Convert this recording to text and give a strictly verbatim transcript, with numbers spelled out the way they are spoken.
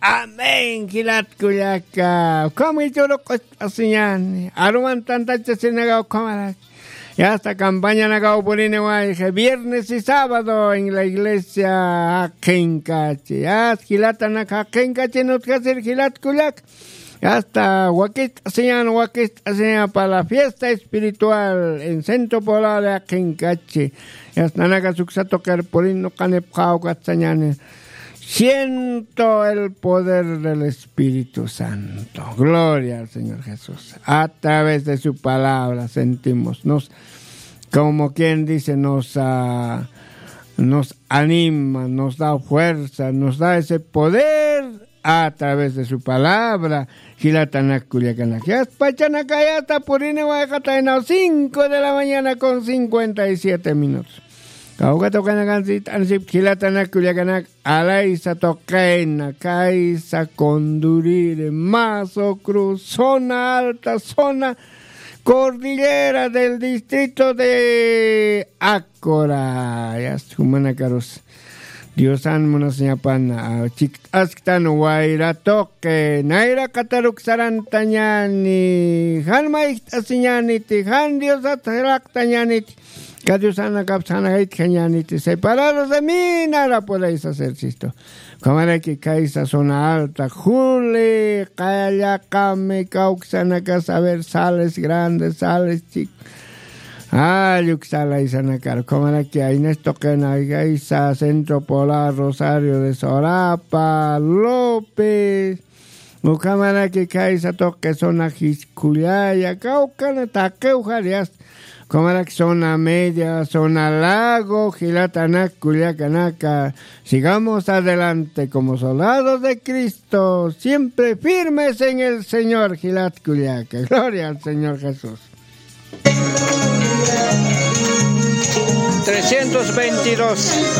Amén, jilat kullaka. Ukham jichhüru q'ucht'asiñäni. Aruman tantachasinakaw ukhamarak. Yasta campañanakaw puriniwayxi. Viernes y sábado en la iglesia jaqinkachi. Yasta jilatanak jaqinkachi utjasir jilat kullaka. Yasta wakicht'asiñän, wakicht'asiñän para la fiesta espiritual en Centro Poblado de jaqinkachi. Yasta nanaka uksa tuqir purin nuqanipxaw ukatsañäni. Siento el poder del Espíritu Santo. Gloria al Señor Jesús. A través de su palabra sentimos, nos, como quien dice, nos, ah, nos anima, nos da fuerza, nos da ese poder a través de su palabra. Jilatanak kullakanak. Yasta pachanakayata puriniwayxataynaw cinco de la mañana con cincuenta y siete minutos. Kawkata ukanakansit'ansip jilatanak kullakanak. Alaysa tuqina, kaysa Condurire, Mazo Cruz, zona alta, zona cordillera del distrito de Acora. Yasta jumanakarus Diosan munasiñapan, ah, chikt'asktan wayra tuqi, nayraqataruk sarantañäni, jan mayjt'asiñäniti, jan Diosat jilaqtañäniti. Ka Diosanakaps janakaytjañäniti, separados de mí nada podéis hacer, sistu. Ukhamaraki kaysa zona alta, juli, qallaqami, kawksanaka, saber, sales grandes, sales chicos. Alluk salaysanakar, ukhamaraki aynas tuqina, kaysa Centro Polar, Rosario de Sorapa, López, ukhamaraki kaysa tuqi zona jiskullaya, kawkana taqiw jarias. Ukhamaraki zona media, zona lago, jilatanak kullakanaka. Sigamos adelante como soldados de Cristo, siempre firmes en el Señor, jilat kullaka. Gloria al Señor Jesús. Trescientos veintidós.